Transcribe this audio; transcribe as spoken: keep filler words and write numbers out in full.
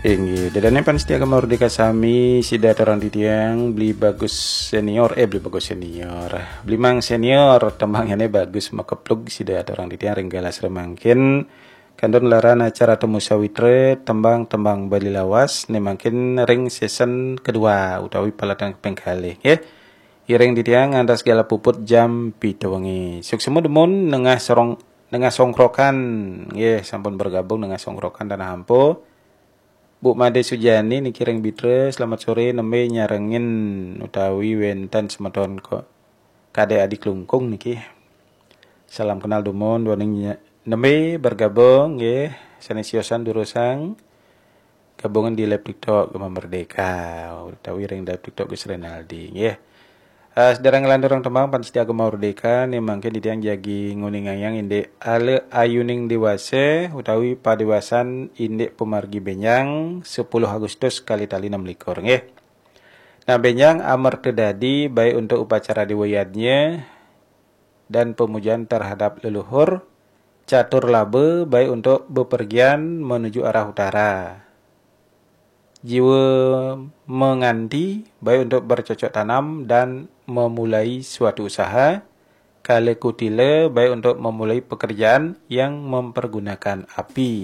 Inggih, ida dané pamiarsa Gema Merdeka sami, sida aturang titiang, Beli Bagus senior, eh, Beli Bagus senior, Beli Mang senior, tembang nyané bagus makeplug, sida aturang titiang ring galah sira mangkin. Kantun ngelarang acara Temu Sawitra, tembang-tembang Bali lawas, né mangkin ring season kedua utawi paletan kaping kalih, nggih. Iring titiang ngantos galah puput jam pitu wengi. Suksma dumun Nengah Sorong, Nengah Songkrokan, nggih, sampun bergabung Nengah Songkrokan Tanah Ampo. Bu Made Sujani niki ring Bitra, selamat sore, nembé nyarengin utawi wénten semeton kok Kadek Adi Klungkung niki. Salam kenal dumun, duaning nya-, nembé bergabung, nggih, sané siosan durusang gabungan di live TikTok Gema Merdeka utawi ring live TikTok Gus Renaldi, nggih. Eh, sedereng nglanturang tembang pamiarsa Gema Merdeka, né mangkin titiang jagi nguningayang indik Ala Ayuning Dewasa utawi Padewasan Indik Pamargi Bénjang, sepuluh Agustus kalih tali enam likur, nggih. Nah, bénjang amerta dadi baik untuk upacara Dewa Yadnya dan pemujaan terhadap leluhur, catur laba baik untuk bepergian menuju arah utara. Jiwa menganti baik untuk bercocok tanam dan memulai suatu usaha, kala kutila baik untuk memulai pekerjaan yang mempergunakan api.